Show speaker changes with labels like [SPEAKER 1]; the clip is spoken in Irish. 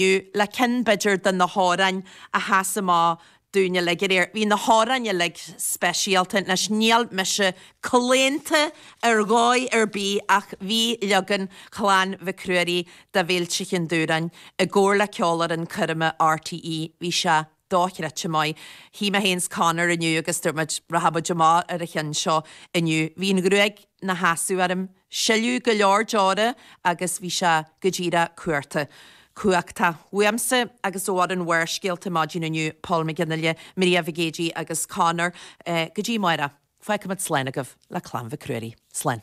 [SPEAKER 1] Le ceann, b'fhéidir, de na hamhráin a sheas amach dúinn uilig aréir. Bhí na hamhráin uilig speisialta. Anois, níl mise claonta ar dhóigh ar bith ach bhí leagan Chlann Mhic Ruairí de Mhílte Chinn Dúráin i gcomhar le Ceolfhoireann Coirme RTÉ, bhí sé dochreidte maith. Shuigh mé féin 's Conor inniu agus dúirt muid, rachaidh muid amach ar an cheann seo inniu. Bhí an ghruaig 'na sheasamh orm. Sileadh go leor deora agus bhí sé go díreach cuarta. Cumhachtach. Uaimse agus ó fhoireann Bharrscéalta maidin inniu, Paul McGinley, Maria Mhic Géidigh agus Conor, go dtí amárach, fágfaimid slán agaibh le Clann Mhic Ruairí. Slán.